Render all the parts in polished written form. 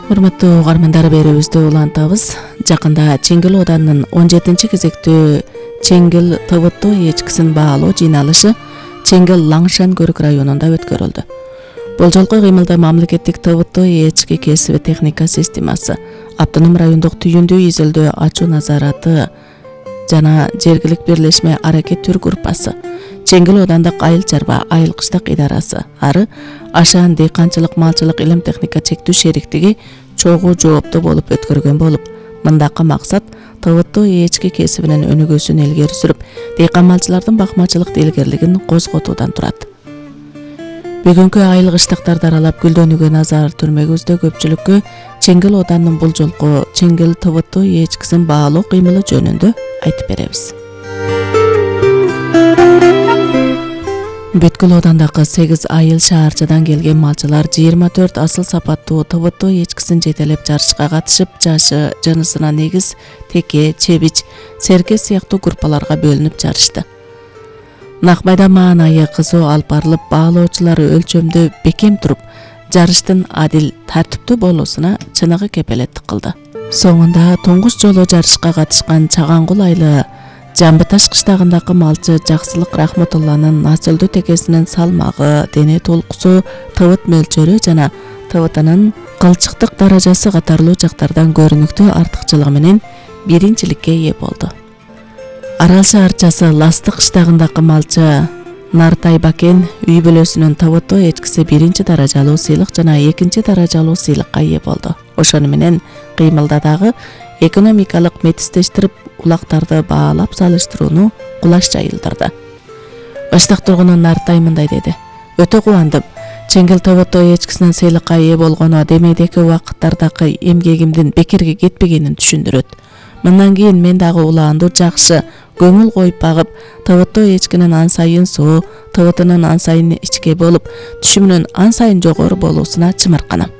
Урматтуу угармандар, берүүбүздү улантабыз. Жакында Чеңгил Оданынын 17-кезектүү Чеңгил ТВТ ээчкисин баалоо жыйналышы Чеңгил Лаңшан көрүк районунда өткөрүлдү. Бул жолку кыймылда мамлекеттик ТВТ ээчки кесиби техника системасы, автоном райондук түйүндүү изилдөө ачуу назараты жана жергилик бирлешме аракет түр группасы, Чеңгил Одандык айыл чарба айыл кыштык идарасы, ары Ашаан дыйканчылык малчылык илим техника чектүү шериктиги чогуу жооптуу болуп өткөргөн болуп, мындакы максат ТВТ ээчки кесибинин өнүгүүсүн илгери сүрүп, дыйкан малчылардын бакмачылык илгерилигин козготуудан турат. Бүгүнкү айыл кыштыктарды аралап гүлдөнүүгө назар түрмөгүбүздө көпчүлүккө Чеңгил Оданынын бул жолку Чеңгил ТВТ ээчкисин баалоо кыймылы жөнүндө айтып беребиз. Бүткүл Одандагы 8 айыл шаарчадан келген малчылар 24 асыл сапаттуу ТВТ ээчкисин жетелеп жарышка катышып, жашы, жынысына негиз теке, чебич, серке сыяктуу группаларга бөлүнүп жарышты. Накмайда маанайы кызуу алып барылып, баалоочулар өлчөмдө бекем туруп, жарыштын адил, тартиптүү болуусуна чыныгы кепелеттик кылды. Соңунда туңгуч жолу жарышка катышкан Чагангул айылы Жамбыташ кыштагындагы малчы Жаксылык Рахматулланын насылдуу текесинин салмагы, дене толкусу, тыбыт мөлчөрү жана тыбытынын кылчыктык даражасы катарлуу жактардан көрүнүктүү артыкчылыгы менен биринчиликке ээ болду. Арал шаарчасы Ластык кыштагындагы малчы Нартай Бакен үй бүлөсүнүн ТВТ ээчкиси биринчи даражалуу сыйлык жана экинчи даражалуу сыйлыкка ээ болду. Ошону менен кыймылда дагы экономикалык метистештирип, улактарды баалап салыштырууну кулаш жайылдырды. Баштак тургуну Нартай мындай деди: "Өтө кубандым. Чеңгил ТВТ ээчкисинин сыйлыкка ээ болгону демейдеки убакыттардагы эмгегимдин бекерге кетпегенин түшүндүрөт. Мындан кийин мен дагы улаанду жакшы көңүл коюп багып, ТВТ ээчкинин ан сайын суу, тыбытынын ан сайын ичке болуп, түшүмүнүн ан сайын жогору болуусуна чымырканам."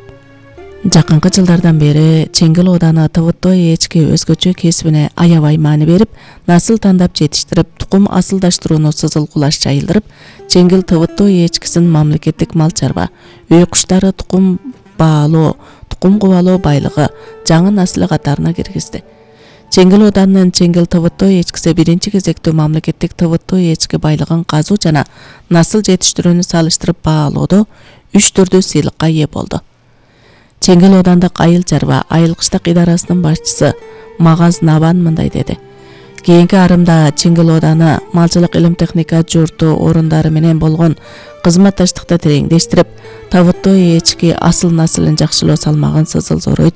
Жакынкы жылдардан бери Чеңгил Ооданы ТВТ ээчки өзгөчө кесибине аябай маани берип, насыл тандап жетиштирип, тукум асылдаштырууну сызыл кулаш жайылдырып, Чеңгил ТВТ ээчкисин мамлекеттик мал чарба, үй куштары тукум баалоо, тукум кубалоо байлыгы, жаңы наслы катарына киргизди. Чеңгил Ооданынын Чеңгил ТВТ ээчкиси биринчи кезектүү мамлекеттик ТВТ ээчки байлыгын казуу жана насыл жетиштирүүнү салыштырып баалоодо 3 түрдүү сыйлыкка ээ болду. Чеңгил Оодандык айыл чарба айыл кыштык идарасынын башчысы Магаз Набан мындай деди: "Кийинки арымда Чеңгил Ооданы малчылык илим техника журту орундары менен болгон кызматташтыкты тереңдештирип, ТВТ ээчки асыл насылын жакшылоо салмагын сызыл зоройт,